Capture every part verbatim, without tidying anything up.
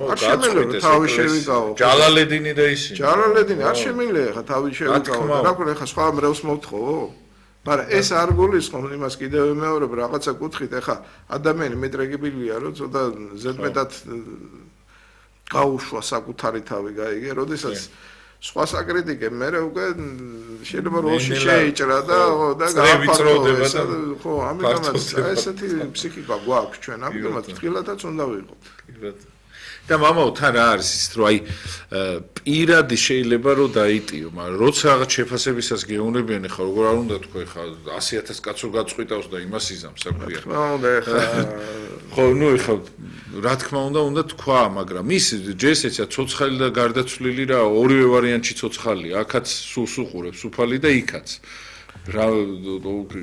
არ შემიძლია თავი შევიკავო. ჯალალედინი და ისინი. ჯალალედინი არ შემიძლია ხა თავი შევიკავო. რა ქვია ხა სხვა მრევლს მოვთხოვო? მაგრამ ეს არ გულისხმობს იმას კიდევ ვიმეორებ რაღაცა კუთხით ეხა ადამიანი მეტრეგიბილია რომ ცოტა ზედმეტად გაუშვა საკუთარი თავი გაიგე როდესაც სხვა საკრიტიკე მე უკვე შეიძლება როლში შეიჭრა და და გააფართოვა და ხო ამიტომაც ესეთი ფსიქიკა გვაქვს ჩვენ ამიტომაც თილათაც უნდა ვიყოთ და მამაო თან რა არის ის რომ აი პირადი შეიძლება რომ დაიტიო მაგრამ როცა რაღაც შეფასებისას გეუნებიან ხა როგორ არ უნდა თქვა ხა ასი ათას კაცო გაწყვიტავს და იმას იზამს საქმეა რა უნდა ხა ხო ნუ ხა რა თქმა უნდა უნდა თქვა მაგრამ ის ჯესეცა ცოცხალი და გარდაცვლილი რა ორივე ვარიანტში ცოცხალია აქაც სულს უყურებს უფალი და იქაც რა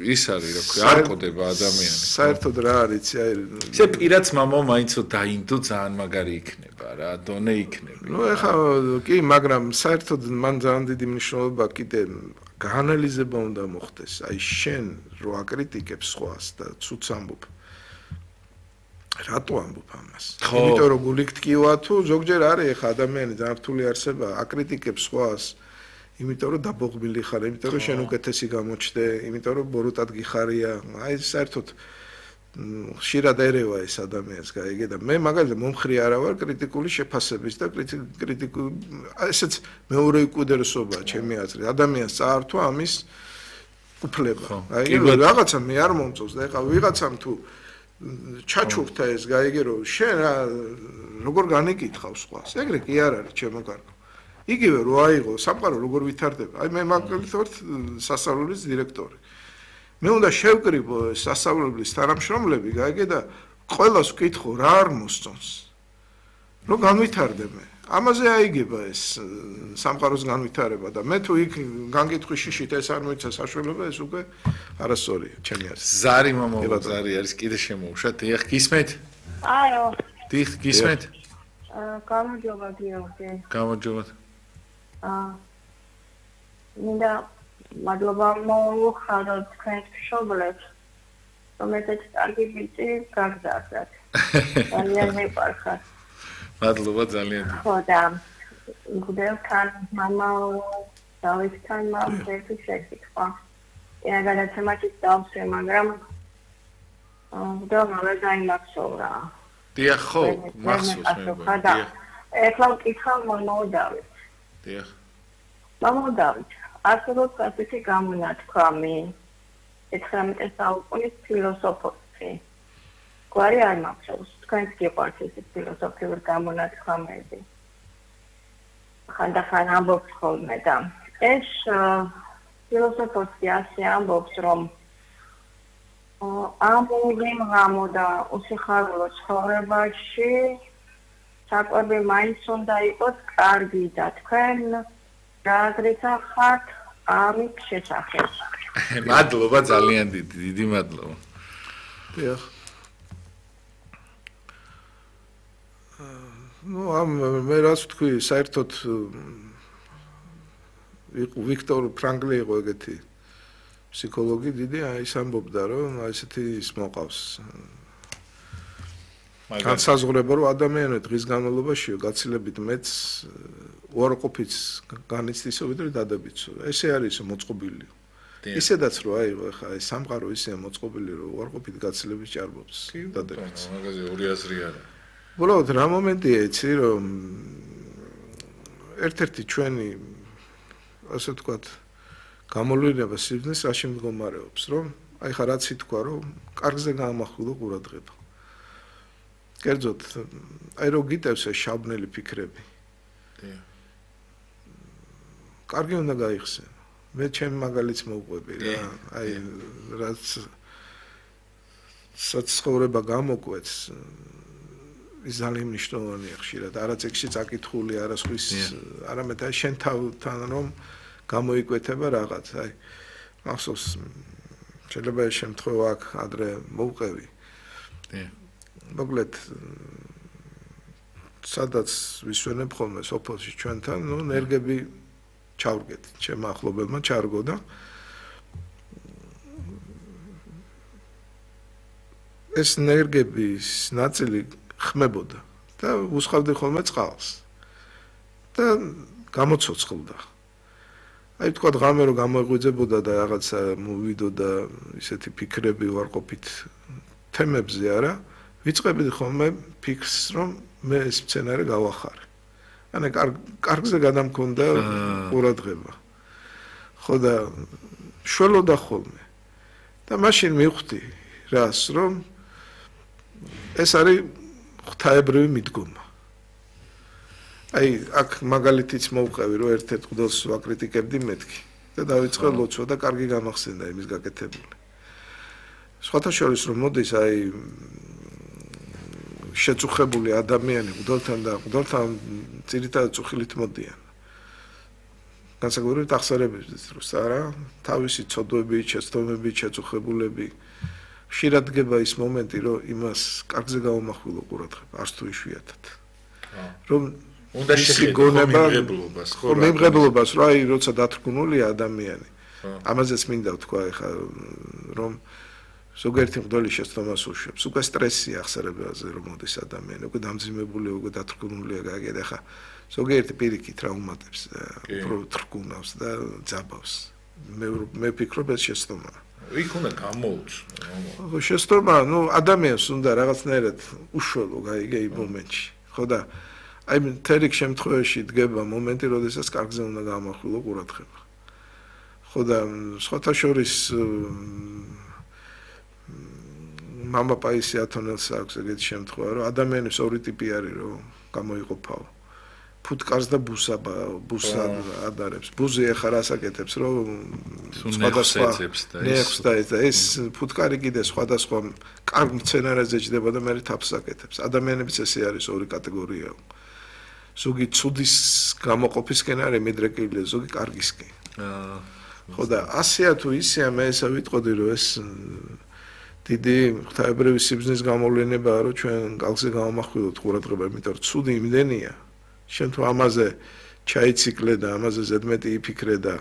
ის არის რა ქვია არ ყოდება ადამიანი საერთოდ რა არის აი ესე პირაც მამაო მაინცო დაინდო ძალიან მაგარი იქნება რა დონე იქნება ნუ ეხა კი მაგრამ საერთოდ მან ძალიან დიდი მნიშვნელობა კიდე გაანალიზება უნდა მოხდეს აი შენ რო აკრიტიკებს სხვას და ცუც ამბობ რატო ამბობ ამას იმიტომ რომ გული გტკივა თუ ზოგჯერ არის ეხა ადამიანი ძალიან რთული არსება აკრიტიკებს სხვას იმიტომ რომ დაბოღბილი ხარ, იმიტომ რომ შენ უკეთესი გამოჩნდე, იმიტომ რომ ბოროტად გიხარია. აი საერთოდ ხშირად ერევა ეს ადამიანს, გაიგე და მე მაგალითად მომხრი არა ვარ კრიტიკული შეფასების და კრიტიკული ესეც მეორე უკიდურესობაა ჩემი აზრით. ადამიანს წაართვა ამის უფლება. აი რაღაცა მე არ მომწონს და ეხლა ვიღაცამ თუ ჩაჩუქთა ეს, გაიგე რომ შენ როგორ განეკითხავს სხვას. ეგრე კი არ არის ჩემო კარგო. იგივე რო აიღო სამყარო როგორ ვითარდება აი მე მაგალითად ვარ სასწავლებლის დირექტორი მე უნდა შევკრიბო სასწავლებლის თანამშრომლები გაიგე და ყველას ვკითხო რა არ მოსწონს რომ განვითარდები ამაზე აიგება ეს სამყაროს განვითარება და მე თუ იქ განგიტხვი შიშით ეს არ მოიცა საშუალება ეს უკვე არასწორია ჩემი აზრით ზარი მამაო ზარი არის კიდე შემოუშვათ დიახ გისმენთ აიო დიახ გისმენთ აა გამარჯობა გიორგი გამარჯობა აა მინდა მადლობა მოუხადოთ თქვენს მშობლებს რომელთაც კარგი ბიჭი გაგზავნათ ძალიან მეყარხარ მადლობა ძალიან ხო და გუდელთან მამა დავითთან მამა ერთი შეკითხვა ეა გადაცემაში დავსვე მაგრამ და მამა დაიმახსოვრა დიახ ხო მახსოვს მე დიახ ეხლა ვკითხავ მამა დავით დიახ მამა დავით ასუროთ ასეთი გამონათქვამი ეთხრამეტე საუკუნის ფილოსოფოსი გვარი არ მახსოვს თქვენს გიყვართ ეს ფილოსოფიური გამონათქვამები ხანდახან ამბობს ხოლმე და ეს ფილოსოფოსი ასე ამბობს რომ ამური მღამო და უსიხარულო ცხოვრებაში საკვები მაინც უნდა იყოს კარგი და თქვენ რა გრიცახართ ამის შესახებ მადლობა ძალიან დიდი დიდი მადლობა დიახ ну ამ მე რას ვთქვი საერთოდ ვიქტორ ფრანკლი იყო ეგეთი ფსიქოლოგი დიდი აი ის ამბობდა რომ ესეთი ის მოყავს განსაზღვრება რომ ადამიანები დღის განმავლობაში გაცილებით მეც უარყოფით განიცდისო ვიდრე დადებითო ესე არის მოწყობილი ისედაც რო აიღო ხა ეს სამყარო ისე მოწყობილი რომ უარყოფით გაცილებით ჭარბობს დადებითს მაგაზე ორი აზრი არა უბრალოდ რა მომენტია იცი რომ ერთ-ერთი ჩვენი ასე ვთქვათ გამოვლენა სიბრძნეს რაში მდგომარეობს რომ აი ხა რაც ითქვა რომ კარგზე გაამახვილო ყურადღება კერძოდ აი რო გიტევს ეს შაბნელი ფიქრები დიახ კარგი უნდა გაიხსენო მე ჩემი მაგალითს მოვყვები რა აი რაც საცხოვრება გამოკვეთს ის ძალიან მნიშვნელოვანია ხშირად არა წიგნში წაკითხული არა სხვის არამედ აი შენ თავთან რომ გამოიკვეთება რაღაც აი მახსოვს შეიძლება ეს შემთხვევა აქ ადრე მოვყევი დიახ მოკლედ სადაც ვისვენებ ხოლმე სოფელში ჩვენთან ნუ ნერგები ჩავრგეთ ჩემ ახლობელმა ჩარგო და ეს ნერგების ნაწილი ხმებოდა და უსხავდი ხოლმე წყალს. და გამოცოცხლდა. აი თქვა ღამე რომ გამოიღვიძებოდა და რაღაცა მოვიდოდა ისეთი ფიქრები ვარყოფით თემებზე არა, ვიწყებდი ხოლმე ფიქრს რომ მე ეს სცენარი გავახარე. ანუ კარგზე გადამქონდა ყურადღება. ხო და შველოდა ხოლმე. და მაშინ მივხვდი რას რომ ეს არის ღვთაებრივი მიდგომა. აი აქ მაგალითიც მოვყევი რომ ერთ-ერთ მღვდელს ვაკრიტიკებდი მეთქი და დავიწყე ლოცვა და კარგი გამახსენდა იმის გაკეთებული. სხვათა შორის რომ მოდის აი შეწუხებული ადამიანი მღვდელთან და მღვდელთან ძირითადად წუხილით მოდიან. განსაკუთრებით აღსარებების დროს არა, თავისი ცოდვებით, შეცდომებით, შეწუხებულები ხშირად დგება ის მომენტი, რომ იმას კარგზე გავამახვილო ყურადღება, არც თუ იშვიათად. რომ უნდა შეხედო მიღებულობას, ხო, მიღებულობას, რა აი როცა დათრგუნულია ადამიანი. ამაზეც მინდა ვთქვა ეხა რომ ზოგიერთი მღვდელი შეცდომას უშვებს. უკვე სტრესი ახსარებაზე რომ მოდის ადამიანი, უკვე დამძიმებული, უკვე დათრგუნულია, გაიგეთ ახლა ზოგიერთი პირიქით რა უმატებს, უფრო თრგუნავს და ძაბავს. მე მე ვფიქრობ ეს შეცდომაა. იქ უნდა გამოუც. ხო, შეცდომა, ну, ადამიანს უნდა რაღაცნაირად უშველო, გაიგე იმ მომენტში. ხო და აი თერიქ შემთხვევაში დგება მომენტი, როდესაც კარგზე უნდა გამახვილო ყურადღება. ხო და სხვათა შორის мама პაისი ათონელს აქვს ეგეთი შემთხვევა, რომ ადამიანის ორი ტიპი არის, რომ გამოიყოფაო. ფუტკარს და ბუსაბა, ბუსა ადარებს. ბუზი ახლა რასაკეთებს, რომ სხვადასხვა ნექს და ეს ფუტკარი კიდე სხვადასხვა კარგ სცენარებზე ჯდება და მე თავს აკეთებს. ადამიანებიც ესე არის ორი კატეგორიაა. ზოგი ცუდის გამოყოფისკენ არის მიდრეკილი, ზოგი კარგისკენ. აა ხო და ასეა თუ ისეა მე ესე ვიტყოდი, რომ ეს დიდი ღვთაებრივი სიბრძნის გამოვლენებაა, რომ ჩვენ კალზე გავამახვილოთ ყურადღება, იმიტომ რომ ცუდი იმდენია. შენ თუ ამაზე ჩაიციკლე და ამაზე ზედმეტი იფიქრე და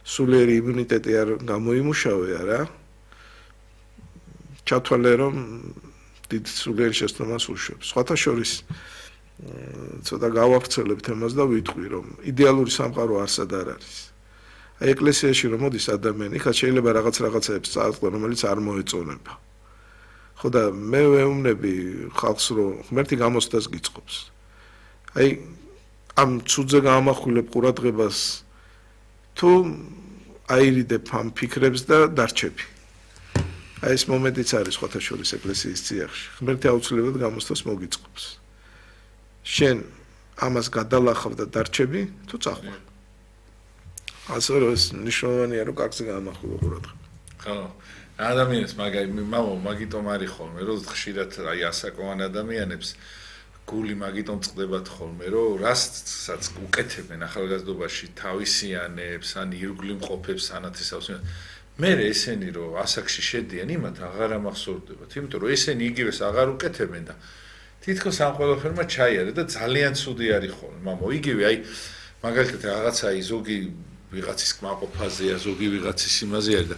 სულიერი იმუნიტეტი არ გამოიმუშავე არა, ჩათვალე რომ დიდ სულიერ შეცდომას უშვებს. სხვათა შორის ცოტა გავავრცელებ თემას და ვიტყვი რომ იდეალური სამყარო არსად არ არის. აი ეკლესიაში რომ მოდის ადამიანი, ხა შეიძლება რაღაც რაღაცებს წააწყდა, რომელიც არ მოეწონება. ხო და მე ვეუბნები ხალხს რომ ღმერთი გამოცდას გიწყობს. აი ამ ცუდზე გამახვილებ ყურადღებას თუ აირიდებ ამ ფიქრებს და დარჩები. აი ეს მომენტიც არის სხვათა შორის ეკლესიის წიაღში. ღმერთი აუცილებლად გამოცდას მოგიწყობს. შენ ამას გადალახავ და დარჩები თუ წახვი. ასე რომ ეს ნიშნავენია რომ კარგზე გამახვილო ყურადღება. ხო. ადამიანს მაგაი მამა მაგიტომ არის ხოლმე რომ ხშირად აი ასაკოვან ადამიანებს გული მაგიტომ წდებათ ხოლმე რომ რასაც უკეთებენ ახალგაზრდობაში თავისიანებს ან ირგვლივ მყოფებს ანათესავს მე ესენი რომ ასაკში შედიან იმათ აღარ ამახსოვრდებათ იმიტომ რომ ესენი იგივეს აღარ უკეთებენ და თითქოს ამ ყველაფერმა ჩაიარა და ძალიან ცუდი არის ხოლმე მამა იგივე აი მაგალითად რაღაცა აი ზოგი ვიღაცის კმაყოფაზეა ზოგი ვიღაცის იმაზე არის და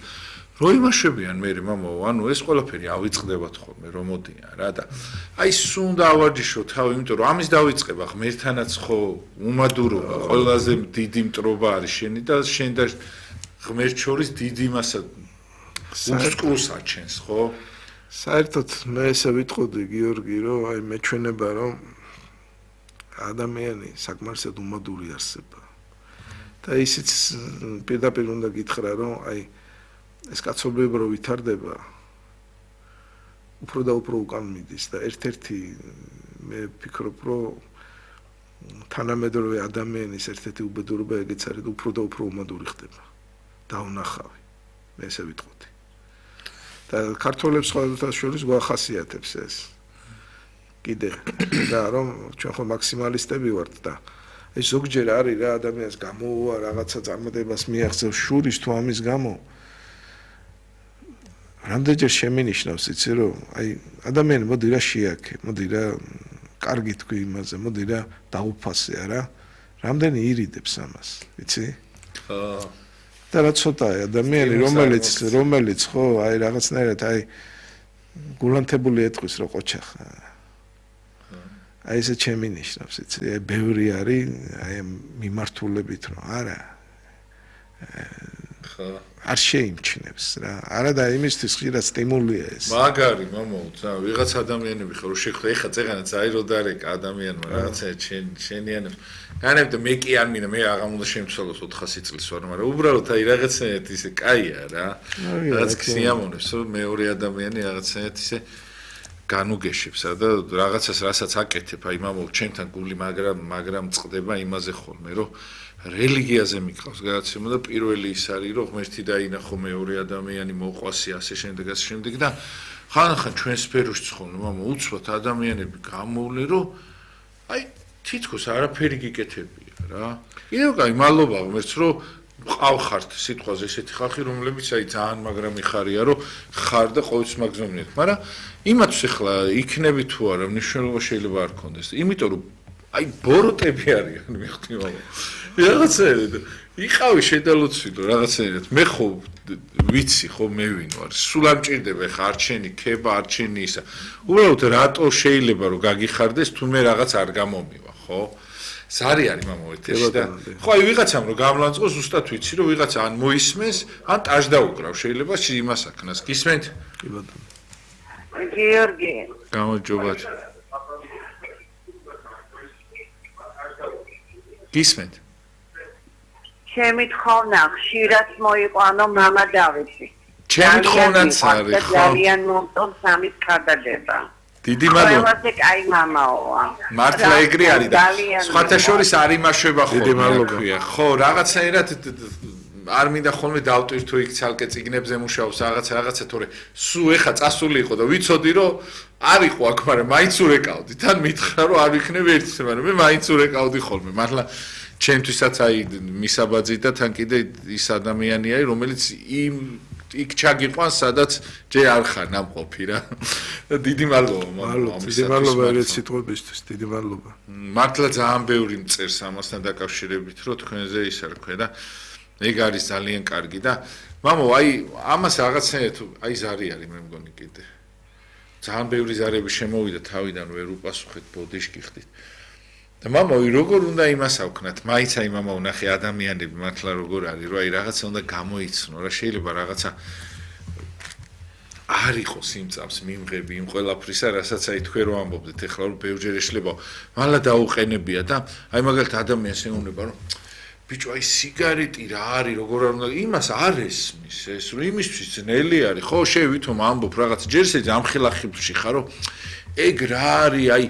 რო იმაშებიან მე მამა ანუ ეს ყველაფერი ავიწყდებათ ხოლმე რომ მოდიან რა და აი სუნდა ავარჯიშო თავი იმიტომ რომ ამის დავიწყება ღმერთთანაც ხო უმადურობა ყველაზე დიდი მტრობა არის შენი და შენ და ღმერთ შორის დიდი მასა უსკრუს აჩენს ხო საერთოდ მე ესე ვიტყოდი გიორგი რომ აი მეჩვენება რომ ადამიანი საკმარისად უმადური არსება და ისიც პირდაპირ უნდა გითხრა რომ აი ეს კაცობრიობა რო ვითარდება უფრო და უფრო უკან მიდის და ერთ-ერთი მე ვფიქრობ რომ თანამედროვე ადამიანის ერთ-ერთი უბედურება ეგეც არის უფრო და უფრო უმადური ხდება დაუნახავი მე ესე ვიტყოდი და ქართველებს სხვადასხვა შორის გვახასიათებს ეს კიდე და რომ ჩვენ ხო მაქსიმალისტები ვართ და ეს ზოგჯერ არის რა ადამიანს გამოუვა რაღაცა წარმატებას მიაღწევს შურის თუ ამის გამო რამდენჯერ შემინიშნავს იცი რომ აი ადამიანი მოდი რა შეაქე მოდი რა კარგი თქვი იმაზე მოდი რა დაუფასე არა რამდენი ირიდებს ამას იცი ხო და რა ცოტაა ადამიანი რომელიც რომელიც ხო აი რაღაცნაირად აი გულანთებული ეთქვის რა ყოჩახა აი ესე ჩემი ნიშნავს, იცი, აი ბევრი არის აი მიმართულებით რომ არა ხო არ შეიმჩნევს რა. არა და იმისთვის ხშირად სტიმულია ეს. მაგარი მამაო, ცა ვიღაც ადამიანები ხო რო შეხვდა, ეხა წეღანა წაირო დარეკა ადამიანმა რაღაცა შენ შენიანებს. განებდა მე კი არ მინდა, მე აღარ უნდა შემცვალოს ოთხასი წლის ვარ, მაგრამ უბრალოდ აი რაღაცნაირად ისე კაია რა. რაღაც სიამოვნებს, რომ მეორე ადამიანი რაღაცნაირად ისე განუგეშებს და რაღაცას რასაც აკეთებ, აი მამაო, ჩემთან გული მაგრამ მაგრამ წყდება იმაზე ხოლმე, რომ რელიგიაზე მიყავს გადაცემა და პირველი ის არის რომ ღმერთი დაინახო მეორე ადამიანი მოყვასი ასე შემდეგ ასე შემდეგ და ხანახან ჩვენ სფეროში ცხონო მამა უცბად ადამიანები გამოვლენ რომ აი თითქოს არაფერი გიკეთებია რა კიდევ კაი მადლობა ღმერთს რომ ყავხართ სიტყვაზე ესეთი ხალხი რომლებიც აი ძალიან მაგრამ იხარია რომ ხარ და ყოველთვის მაგზომნეთ მაგრამ იმათს ახლა იქნები თუ არა მნიშვნელობა შეიძლება არ ქონდეს იმიტომ რომ აი ბოროტები არიან მიხდი მამა რაღაცაერად იყავი შედალოცილო რაღაცაერად მე ხო ვიცი ხო მე ვინ ვარ სულ არ მჭირდება ხა არჩენი ქება არჩენი ისა უბრალოდ რატო შეიძლება რომ გაგიხარდეს თუ მე რაღაც არ გამომივა ხო ზარი არის მამა ეთერში და ხო აი ვიღაცამ რომ გამლანწყო ზუსტად ვიცი რომ ვიღაცა ან მოისმენს ან ტაშ დაუკრავ შეიძლება იმას აქნას გისმენთ კი ბატონო გიორგი გამარჯობათ გისმენთ ჩემი თხოვნა ხშირად მოიყვანო მამა დავითი. ჩემი თხოვნაც არის ხო? ძალიან მომწონს სამის ქადაგება. დიდი მადლობა. ყველაზე კაი მამაოა. მართლა ეგრე არის და სხვათა შორის არ იმაშვება ხოლმე. დიდი მადლობა. ხო, რაღაცაერად არ მინდა ხოლმე დავტვირთო იქ ცალკე ციგნებზე მუშაობს რაღაც რაღაცა თორე სულ ეხა წასული იყო და ვიცოდი რომ არ იყო აქ, მაგრამ მაინც ურეკავდი. თან მითხრა რომ არ ვიქნებ ერთის, მაგრამ მე მაინც ურეკავდი ხოლმე. მართლა ჩემთვისაც აი მისაბაძი და თან კიდე ის ადამიანია, რომელიც იმ იქ ჩაგიყვანს, სადაც ჯერ არ ხარ ნამყოფი რა. დიდი მადლობა, მადლობა. დიდი მადლობა ერთ სიტყვებისთვის, დიდი მადლობა. მართლა ძალიან ბევრი მწერს ამასთან დაკავშირებით, რომ თქვენზე ის არ ქვე და ეგ არის ძალიან კარგი და მამო, აი ამას რაღაცნაირად აი ზარი არის მე მგონი კიდე. ძალიან ბევრი ზარები შემოვიდა თავიდან ვერ უპასუხეთ ბოდიშკი ხდით. და მამაო, როგორ უნდა იმას ავქნათ? მაინც აი მამაო, ნახე ადამიანები მართლა როგორ არის, რომ აი რაღაცა უნდა გამოიცნო, რა შეიძლება რაღაცა არ იყოს იმ წამს მიმღები იმ ყველაფრისა, რასაც აი თქვენ რო ამბობდეთ, ეხლა რომ ბევრჯერ ეშლება, მალლა დაუყენებია და აი მაგალითად ადამიანს ეუბნება, რომ ბიჭო, აი სიგარეტი რა არის, როგორ არ უნდა იმას არ ესმის, ეს რომ იმისთვის ძნელი არის, ხო, შე ვითომ ამბობ რაღაც ჯერ შეიძლება ამხილახიბში ხარო, ეგ რა არის, აი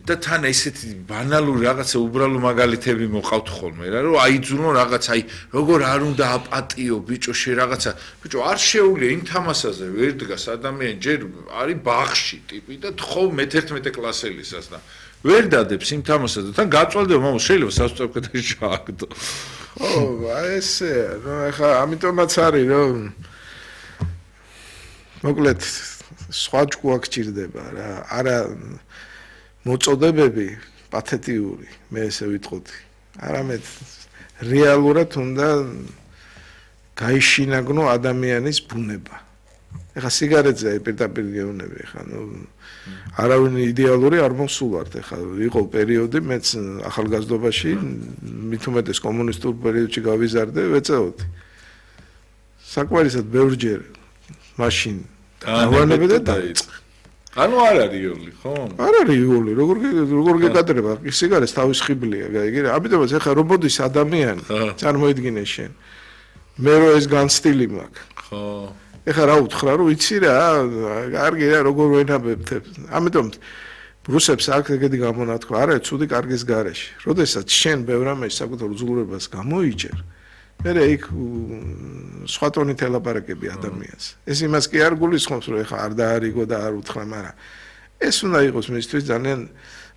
და თან ესეთი ბანალური რაღაცა უბრალო მაგალითები მოყავთ ხოლმე რა რომ აიძულო რაღაც აი როგორ არ უნდა აპატიო ბიჭო შე რაღაცა ბიჭო არ შეუძლია იმ თამასაზე ვერ დგას ადამიანი ჯერ არის ბაღში ტიპი და თხოვ მეთერთმეტე კლასელისას და ვერ დადებს იმ თამასაზე თან გაწვალდება მამა შეიძლება სასწრაფო შააგდო ხო აი ესე რა ხა ამიტომაც არის რომ მოკლედ სხვა ჭკუა გჭირდება რა არა მოწოდებები პათეტიური მე ესე ვიტყოდი არამედ რეალურად უნდა გაიშინაგნო ადამიანის ბუნება ეხა სიგარეტზე პირდაპირ გეუბნები ეხა ნუ არავინ იდეალური არ მოსულართ ეხა იყო პერიოდი მეც ახალგაზრდობაში მით უმეტეს კომუნისტურ პერიოდში გავიზარდე ვეწეოდი საკმარისად ბევრჯერ მაშინ დავანებე და დაიწყე ანუ არ არის იოლი, ხო? არ არის იოლი, როგორ როგორ გეკადრება, სიგარეტს თავის ხიბლია, გაიგე? ამიტომაც ახლა რობოდის ადამიანი წარმოიდგინე შენ. მე რო ეს განსტილი მაქვს. ხო. ეხლა რა უთხრა, რომ იცი რა, კარგი რა, როგორ ვენაბებთებ. ამიტომ რუსებს აქ ეგეთი გამონათქვა, არა, ცუდი კარგის გარეშე. როდესაც შენ ბევრ ამას საკუთარ უძლურებას გამოიჭერ, მერე იქ სხვა ტონით ელაპარაკები ადამიანს. ეს იმას კი არ გულისხმობს, რომ ეხა არ დაარიგო და არ უთხრა, მაგრამ ეს უნდა იყოს მისთვის ძალიან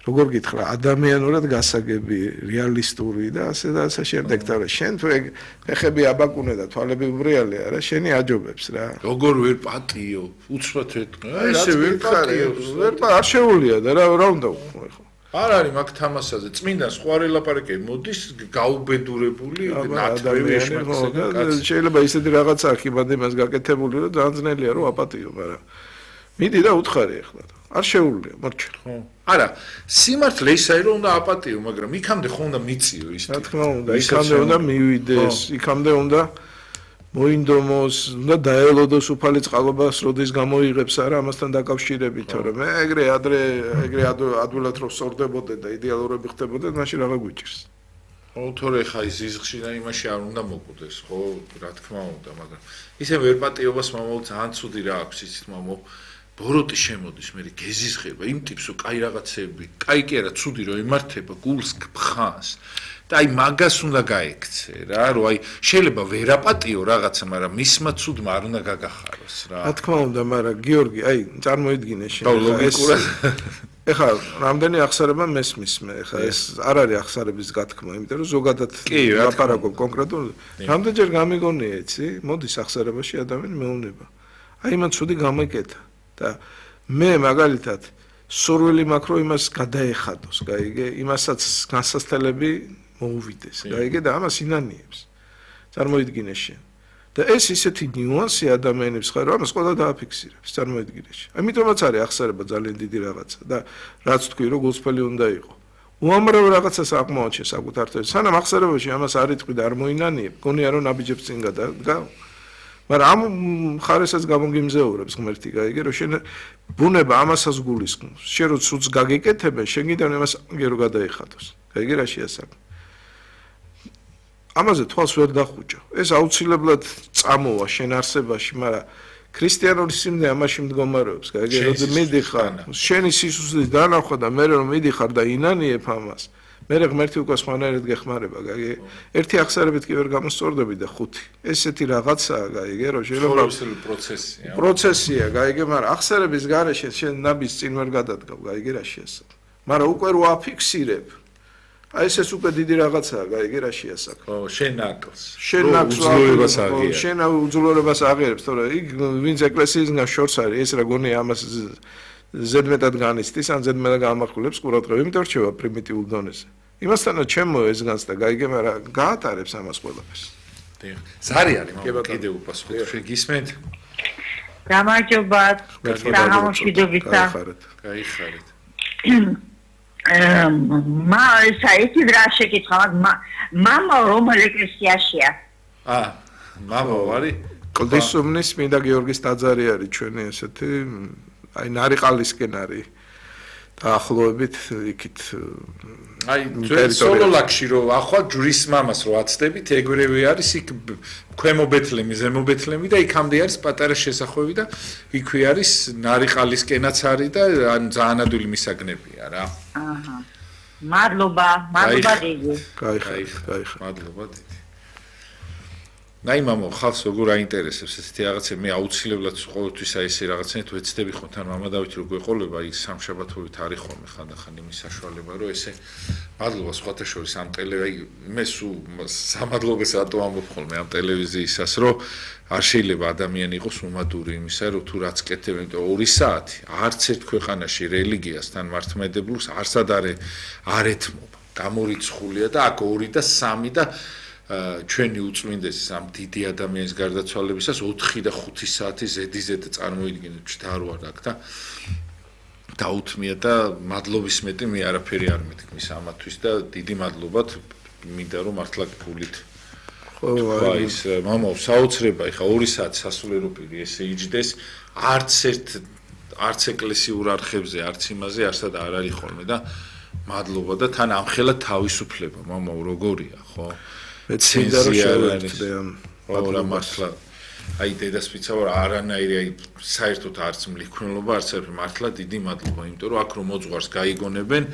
როგორ გითხრა, ადამიანურად გასაგები, რეალისტური და ასე და ასე შემდეგ. და შენ თუ ეგ ფეხები აბაკუნე და თვალები უბრიალია რა, შენი აჯობებს რა. როგორ ვერ პატიო, უცბად ეთქვა. ესე ვერ პატიო, ვერ არ შეუულია და რა რა უნდა ვქო ეხლა. არ არის მაგ თამასაზე წმინდანს სხვა ელაპარაკები მოდის გაუბედურებული ნათქვამი შეიძლება ისეთი რაღაცა აქ იმად იმას გაკეთებული რომ ძალიან ძნელია რომ აპატიო მაგრამ მიდი და უთხარი ახლა არ შეუძლია, მორჩა. ხო. არა, სიმართლე ისაა რომ უნდა აპატიო, მაგრამ იქამდე ხო უნდა მიწიო ის. რა თქმა უნდა, იქამდე უნდა მივიდეს, იქამდე უნდა მოინდომოს, უნდა დაელოდოს უფალი წყალობას, როდის გამოიღებს არა ამასთან დაკავშირებით, თორემ მე ეგრე ადრე ეგრე ადვილად რომ სწორდებოდე და იდეალურები ხდებოდე, მაშინ რაღა გვიჭირს. ხო, თორე ხა ის ზიზღში და იმაში არ უნდა მოკვდეს, ხო, რა თქმა უნდა, მაგრამ ისე ვერ პატიობას მამაო ძალიან ცუდი რა აქვს იცით მამაო. ბოროტი შემოდის, მე გეზიზღება იმ ტიპს, რომ კაი რაღაცები, კაი კი არა, ცუდი რომ ემართება, გულს გფხანს. და აი მაგას უნდა გაექცე რა, რომ აი შეიძლება ვერ აპატიო რაღაცა, მაგრამ მისმა ცუდმა არ უნდა გაგახაროს რა. რა თქმა უნდა, მაგრამ გიორგი, აი წარმოიდგინე შენ და ლოგიკურად ეხლა რამდენი ახსარება მესმის მე, ეხლა ეს არ არის ახსარების გათქმა, იმიტომ რომ ზოგადად ლაპარაკობ კონკრეტულად. რამდენჯერ გამიგონია, იცი? მოდის ახსარებაში ადამიანი მეუნება. აი მან ცუდი გამოიკეთა და მე მაგალითად სურვილი მაქვს რომ იმას გადაეხადოს, გაიგე, იმასაც განსასწრებელი მოუვიდეს, გაიგე და ამას ინანიებს. წარმოიდგინე შენ. და ეს ისეთი ნიუანსი ადამიანებს ხარ, რომ ამას ყველა დააფიქსირებს, წარმოიდგინე შენ. ამიტომაც არის ახსარება ძალიან დიდი რაღაცა და რაც თქვი, რომ გულწრფელი უნდა იყო. უამრავ რაღაცას აღმოაჩენ საკუთარ თავს. სანამ ახსარებაში ამას არ იტყვი და არ მოინანიებ, გონია რომ ნაბიჯებს წინ გადა. მაგრამ ამ ხარესაც გამოგიმზეურებს ღმერთი, გაიგე, რომ შენ ბუნება ამასაც გულისხმობს. შენ რო ცუდს გაგიკეთებენ, შენ გინდა იმას გერო გადაიხადოს. გაიგე რა შეასაკ. ამაზე თვალს ვერ დახუჭო. ეს აუცილებლად წამოვა შენ არსებაში, მაგრამ ქრისტიანული სიმდე ამაში მდგომარეობს, გაიგე, რომ მიდიხარ, შენი სისუსლის დანახვა და მე რომ მიდიხარ და ინანიებ ამას. მე ღმერთი უკვე სხვანაირად გეხმარება, გაიგე. ერთი ახსარებით კი ვერ გამოსწორდები და ხუთი. ესეთი რაღაცაა, გაიგე, რომ შეიძლება პროცესია. პროცესია, გაიგე, მაგრამ ახსარების გარეშე შენ ნაბის წინ ვერ გადადგავ, გაიგე რა შეასაკ. მაგრამ უკვე რო აფიქსირებ, აი ეს ეს უკვე დიდი რაღაცაა, გაიგე რა შეასაკ. ხო, შენ ნაკლს. შენ ნაკლს უძლურებას აღიარებს. შენ უძლურებას აღიარებს, თორე იქ ვინც ეკლესიისგან შორს არის, ეს რა გონია ამას ზედმეტად განიცდის, ან ზედმეტად გამახვილებს ყურადღება, იმიტომ რჩება პრიმიტიულ დონეზე. იმასთანაც ჩემო ეს განს და გაიგე, მაგრამ გაატარებს ამას ყველაფერს. დიახ. ზარი არის მაგრამ კიდე უპასუხოთ, შენ გისმენთ? გამარჯობა. სამშვიდობისა. გაიხარეთ. მა საერთოდ რა შეკითხვა, მამა რომელ ეკლესიაშია? აა, მამა ვარი? კლდისუბნის მინდა გიორგის ტაძარი არის ჩვენი ესეთი, აი ნარიყალისკენ არის. დაახლოებით იქით აი ჩვენ სოლოლაკში რო ახლა ჯვრის მამას რო აცდებით, ეგრევე არის იქ ქვემო ბეთლემი, ზემო ბეთლემი და იქამდე არის პატარა შესახვევი და იქვე არის ნარიყალისკენაც არის და ძალიან ადვილი მისაგნებია რა. აჰა. მადლობა, მადლობა დიდი. გაიხარეთ, გაიხარეთ. მადლობა დიდი. ნაი მამო, ხალხს როგორ აინტერესებს ესეთი რაღაცა, მე აუცილებლად ყოველთვის აი ესე რაღაცნაირად ვეცდები ხო თან მამა დავით რო გვეყოლება, აი სამშაბათობით არის ხოლმე ხანდახან იმის საშუალება, რომ ესე მადლობა სხვათა შორის ამ ტელე აი მე სულ სამადლობას რატო ამბობ ხოლმე ამ ტელევიზიისას, რომ არ შეიძლება ადამიანი იყოს უმადური იმისა, რომ თუ რაც კეთებენ, ორი საათი არც ერთ ქვეყანაში რელიგიასთან მართლმადებლურს არსად არ არ ეთმობა. გამორიცხულია და აქ ორი და სამი და ჩვენი უწმინდესის ამ დიდი ადამიანის გარდაცვალებისას ოთხი და ხუთი საათი ზედიზედ წარმოიდგინეთ ჩდარვარ აქ და დაუთმია და მადლობის მეტი მე არაფერი არ მეთქმის ამათვის და დიდი მადლობათ მინდა რომ მართლა გულით ხო ის მამა საოცრება ეხა ორი საათი სასულიერო პირი ესე იჯდეს არც ერთ არც ეკლესიურ არხებზე არც იმაზე არსად არ არის ხოლმე და მადლობა და თან ამხელა თავისუფლება მამა როგორია ხო მეცინდა რომ შევერთდე ამ მადლობა მართლა აი დედასპიცა ვარ არანაირი აი საერთოდ არც მლიქნელობა არც ერთ მართლა დიდი მადლობა იმიტომ რომ აქ რომ მოძღვარს გაიგონებენ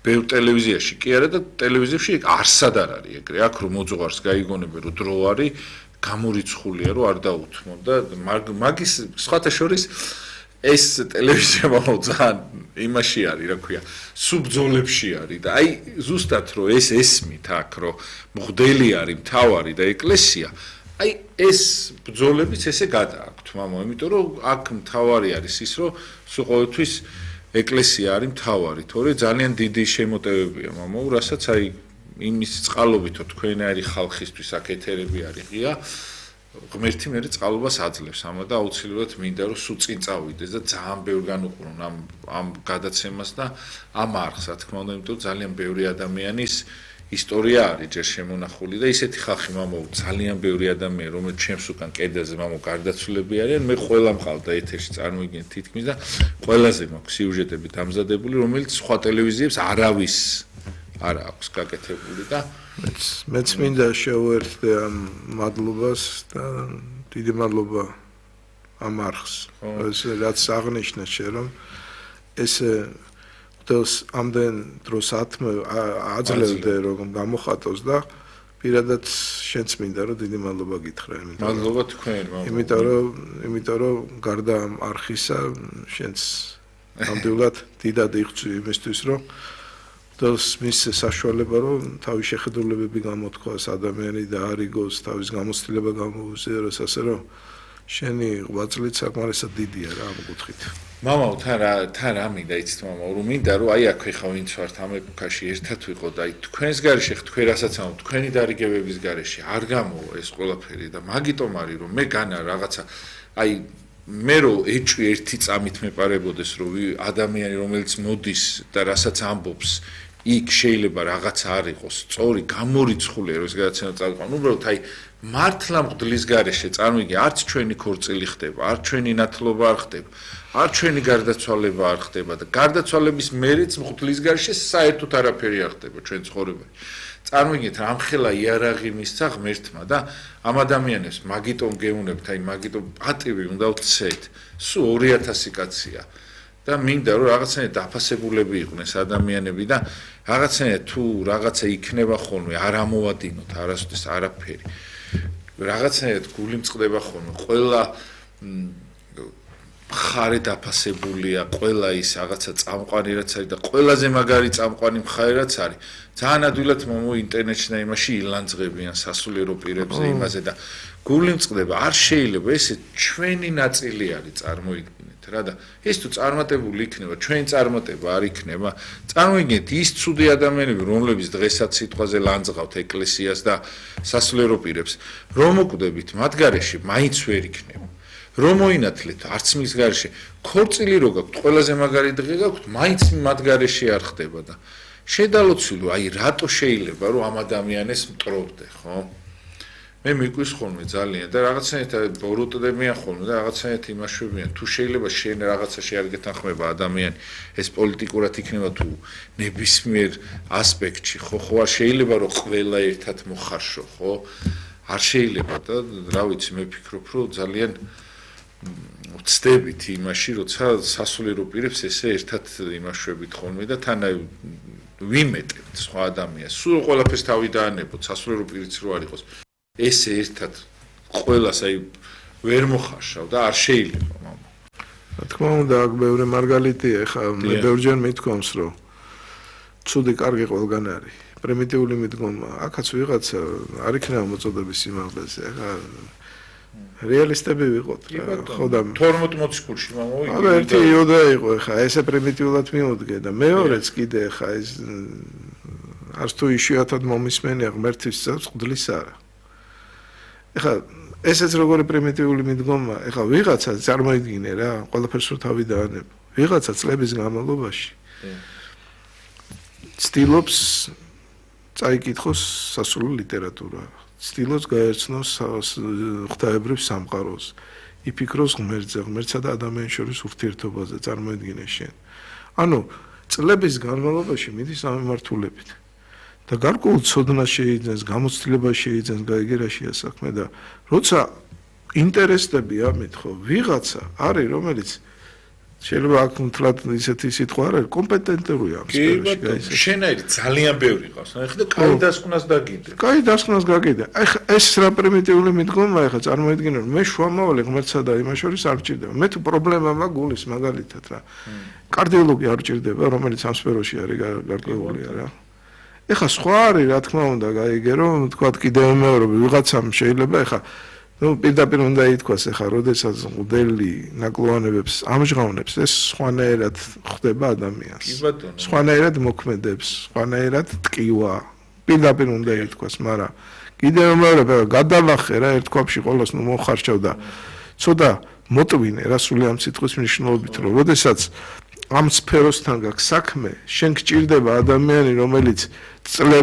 ბევრ ტელევიზიაში კი არა და ტელევიზიაში არსად არ არის ეგრე აქ რომ მოძღვარს გაიგონებენ რომ დრო არის გამორიცხულია რომ არ დაუთმონ და მაგის სხვათა შორის ეს ტელევიზია ძალიან იმაში არის რა ქვია სუბძოლებში არის და აი ზუსტად რომ ეს ესმით აქ რომ მღვდელი არის მთავარი და ეკლესია აი ეს ბრძოლებიც ესე გადააქვთ მამა იმიტომ რომ აქ მთავარი არის ის რომ სულ ყოველთვის ეკლესია არის მთავარი თორე ძალიან დიდი შემოტევებია მამა რასაც აი იმის წყალობითო თქვენაერი ხალხისთვის აქ ეთერები არის ღია ღმერთი მე წყალობას აძლევს, ამა და აუცილებლად მინდა რომ სულ წინ წავიდეს და ძალიან ბევრ განუყრონ ამ ამ გადაცემას და ამ არხს, რა თქმა უნდა, იმიტომ ძალიან ბევრი ადამიანის ისტორია არის ჯერ შემონახული და ისეთი ხალხი მამო ძალიან ბევრი ადამიანი რომელიც ჩემს უკან კედელზე მამო გარდაცვლილები არიან მე ყველა მყავდა ეთერში წარმოვიდგინეთ თითქმის და ყველაზე მაქვს სიუჟეტები დამზადებული რომელიც სხვა ტელევიზიებს არავის არ აქვს გაკეთებული და მეც მეც მინდა შევერთდე ამ მადლობას და დიდი მადლობა ამ არხს ეს რაც აღნიშნა შენ რომ ეს დელს ამდენ დროს ათმე აძლევდე რომ გამოხატოს და პირადად შენც მინდა რომ დიდი მადლობა გითხრა იმიტომ მადლობა თქვენ მამო იმიტომ რომ იმიტომ რომ გარდა ამ არხისა შენც ნამდვილად დიდად იღწვი იმისთვის რომ დელს მის საშუალება რომ თავის შეხედულებები გამოთქვას ადამიანი და არიგოს თავის გამოცდილება გამოუზიაროს ასე რომ შენი ღვაწლით საკმარისად დიდია რა ამ კუთხით მამაო თან რა თან რა მინდა იცით მამაო რომ მინდა რომ აი აქვე ხა ვინც ვართ ამ ეპოქაში ერთად ვიყო და აი თქვენს გარეშე თქვენ რასაც ამ თქვენი დარიგებების გარეშე არ გამოვა ეს ყველაფერი და მაგიტომ არის რომ მე განა რაღაცა აი მე რო ეჭვი ერთი წამით მეპარებოდეს რომ ადამიანი რომელიც მოდის და რასაც ამბობს იქ შეიძლება რაღაცა არ იყოს სწორი გამორიცხული რომ ეს გადაცემა წავიყვან უბრალოდ აი მართლა მღვდლის გარეშე წარმოვიდგინე არც ჩვენი ქორწილი ხდება არც ჩვენი ნათლობა არ ხდება არც ჩვენი გარდაცვალება არ ხდება და გარდაცვალების მერეც მღვდლის გარეშე საერთოდ არაფერი არ ხდება ჩვენ ცხოვრებაში წარმოვიდგინეთ რამხელა იარაღი მისცა ღმერთმა და ამ ადამიანებს მაგიტომ გეუნებთ აი მაგიტომ პატივი უნდა ვცეთ სულ ორი ათასი კაცია და მინდა რომ რაღაცნაირად დაფასებულები იყვნენ ეს ადამიანები და რაღაცნაირად თუ რაღაცა იქნება ხოლმე არ ამოვადინოთ არასოდეს არაფერი რაღაცნაირად გული მწყდება ხოლმე ყველა მხარე დაფასებულია ყველა ის რაღაცა წამყვანი რაც არის და ყველაზე მაგარი წამყვანი მხარე რაც არის ძალიან ადვილად მომო ინტერნეტში და იმაში ილანძღებიან სასულიერო პირებზე იმაზე და გული მწყდება არ შეიძლება ესე ჩვენი ნაწილი არის წარმოიდგინეთ რა და ეს თუ წარმატებული იქნება ჩვენ წარმატება არ იქნება წარმოიდგინეთ ის ცუდი ადამიანები რომლებიც დღესაც სიტყვაზე ლანძღავთ ეკლესიას და სასულიერო პირებს რომ მოკვდებით მათ გარეშე მაინც ვერ იქნება რომ მოინათლეთ არც მის გარეშე ქორწილი რო გაქვთ ყველაზე მაგარი დღე გაქვთ მაინც მათ გარეშე არ ხდება და შედალოცილო აი რატო შეიძლება რომ ამ ადამიანებს მტრობდე ხო მე მიკვირს ხოლმე ძალიან და რაღაცნაირად ბოროტდებიან ხოლმე და რაღაცნაირად იმაშვებიან თუ შეიძლება შენ რაღაცაში არ გეთანხმება ადამიანი ეს პოლიტიკურად იქნება თუ ნებისმიერ ასპექტში ხო ხო არ შეიძლება რომ ყველა ერთად მოხარშო ხო არ შეიძლება და რა ვიცი მე ფიქრობ რომ ძალიან ვცდებით იმაში როცა სასულიერო პირებს ესე ერთად იმაშვებით ხოლმე და თან ვიმეტებთ სხვა ადამიანს სულ ყველაფერს თავი დაანებოთ სასულიერო პირიც რო არ იყოს ესე ერთად ყველას აი ვერ მოხარშავ და არ შეიძლება მამა რა თქმა უნდა აქ ბევრი მარგალიტია ხა მე ბევრჯერ მithქვამს რომ ცუდი კარგი ყველგან არის პრიმიტიული მიდგომა აქაც ვიღაცა არ იქნება მოწოდების სიმაღლეზე ხა რეალისტები ვიყოთ ხო და თორმეტ მოციქულში მამა არა ერთი იოდა იყო ხა ესე პრიმიტიულად მიუდგე და მეორეც კიდე ხა ეს არც თუ იშვიათად მომისმენია ღმერთის წელს მღვდლის არა ეხლა ესეც როგორი პრიმიტიული მიდგომა ეხლა ვიღაცა წარმოიდგინე რა ყველაფერს რო თავი დაანებ ვიღაცა წლების განმავლობაში ცდილობს წაიკითხოს სასულიერო ლიტერატურა ცდილობს გაერცნოს ღვთაებრივ სამყაროს იფიქროს ღმერთზე ღმერთსა და ადამიანის შორის ურთიერთობაზე წარმოიდგინე შენ ანუ წლების განმავლობაში მიდის ამ მიმართულებით და გარკვეულ ცოდნას შეიძენს, გამოცდილებას შეიძენს გაიგერაშია საქმე და როცა ინტერესდები ამით ხო ვიღაცა არის რომელიც შეიძლება აქ მთლად ისეთი სიტყვა არ არის კომპეტენტურია ამ სფეროში გაიცე შენაირი ძალიან ბევრი ყავს ახლა და კაი დასკვნას დაგიდე კაი დასკვნას გაგიდე ახლა ეს რა პრიმიტიული მიდგომა ახლა წარმოიდგინე რომ მე შუამავალი ღმერთსა და იმას შორის არ ჭირდება მე თუ პრობლემა მაქვს გულის მაგალითად რა კარდიოლოგი არ ჭირდება რომელიც ამ სფეროში არის გარკვეულია რა ეხა სხვა არის რა თქმა უნდა გაიგე რომ თქვა კიდევ მეორე ვიღაცამ შეიძლება ეხა ну პირდაპირ უნდა ითქვას ეხა როდესაც მღვდელი ნაკლოვანებებს ამჟღავნებს ეს სხვანაირად ხდება ადამიანს სხვანაირად მოქმედებს სხვანაირად ტკივა პირდაპირ უნდა ითქვას, მაგრამ კიდევ მეორე გადავახე რა ერთქვაფში ყოველს ნუ მოხარჩევ და ცოტა მოტვინე რა სული ამ სიტყვის მნიშვნელობით რომ როდესაც ამ სფეროსთან გაქვს საქმე, შენ გჭირდება ადამიანი, რომელიც წლები